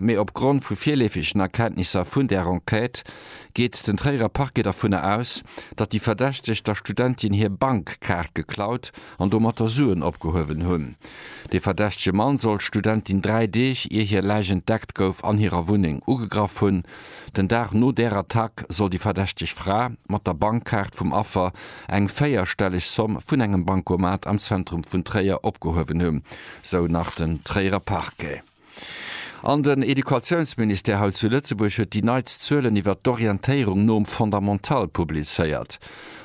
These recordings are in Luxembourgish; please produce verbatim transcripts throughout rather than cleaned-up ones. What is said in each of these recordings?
Mee opgrond vu virleefegen Erkenntnisser vun der Enquête geet den Tréierer Parquet dovunner aus, datt déi Verdächteg der Studentin hir Bankkaart geklaut an domatter Suen opgehuewen hunn. De verdächtege Mann soll d'Studentin dräi Deeg, ier hir Läich entdeckt gouf, an hirer Wunneng ugegraff hunn. Den Dag no där Attack soll déi verdächteg Fra mat der Bankkaart vum Affer eng véierstelleg Somm vun engem Bancomat am Zentrum vun Tréier opgehuewen hunn, sou nach den Tréierer Parquet. An den Educatiounsministère hei zu Lëtzebuerg huet déi neitst Zuelen iwwer d'Orientéierung nom Fondamental publizéiert.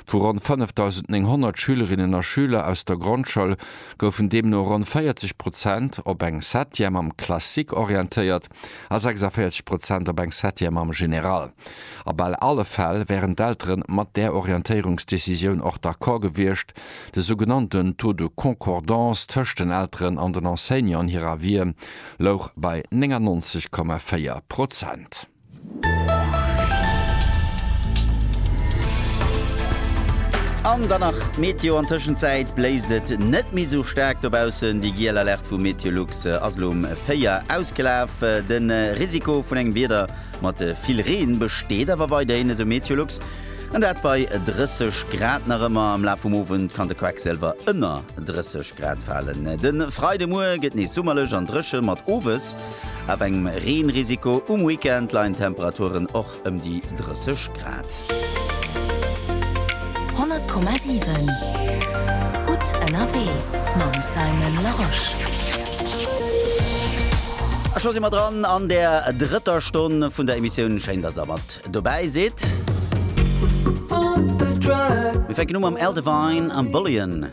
Vu ronn fënnefdausendnénghonnert Schülerinnen a Schüler aus der Grondschoul goufen deemno ronn véierzeg Prozent op eng Septième am Classique orientéiert a sechsavéierzeg Prozent op eng Septième am Général. A bal alle Fäll wären d'Eltere mat där Orientéierungsdecisioun och d'accord gewiescht. De sougenannten Taux de concordance tëscht den Elteren an den Enseignanten hirer Avisë louch bei néngannonzeg Komma véier Prozent. An dann nach d'Meteo, An Tëschenzäit bléist et net méi sou staark dobaussen. Déi giel Alerte vu Meteolux ass elo um véier ausgelaf. De Risiko vun engem Wieder mat vill Reen besteet awer weiderhin, esou Meteolux. An dat bei drësseg Grad nach ëmmer. Am Laf vum Owend kann de Quecksilwer ënner drësseg Grad falen. De Freidemuer gëtt nees summerlech an dréche mat owes awer engem Reenrisiko. Um Weekend leien d'Temperaturen och ëm déi drësseg Grad. honnert Komma siwen Gutt ënnerwee mam Simon Larosche. A scho si mer dran an der drëtter Stonn vun der Emissioun. Schéin, dass der mat dobäi sidd. Mir fänken u mam Al Devine am Bullion.